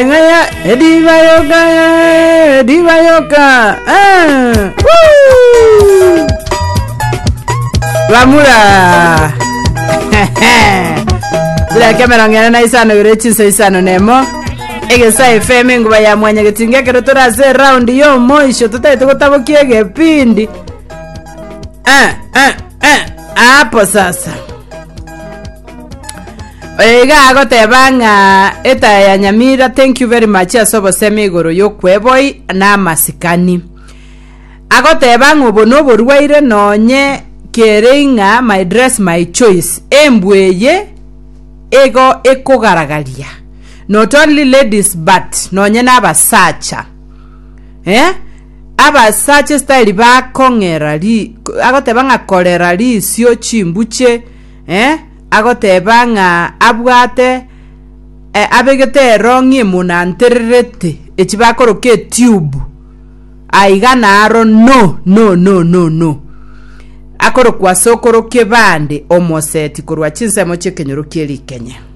Ng'aya ediba yoka ediba yoka eh, woo! Bamura Chidakika emerongo ene na isano ibere chinsa isano na emo egesa FM enguba ya mwanyagetinga ekero tore ase eraundi ya omoisho totagete gotabokia egepindi eh, eh, eh. Hapo sasa Oyo iga agoteba ng'a etaya ya Nyamira thank you very much ase obosemi igoro y'okweboi na amasikani. Agoteba ng'a obo noborwaire nonye kere ing'a my dress my choice embwa eye igo ekogaragaria not only ladies but nonye na abasacha eh abasacha estyle bakong'era ri agoteba ng'a korera risio chimbuche eh Agoteba ng'a abwate abegete erong'i emonantererete echi bakoroka etube aiga naro no no no no no akorokwa ase okorokia ebande omoseti korwa chinsemo chi'ekenyoro kie rikenye.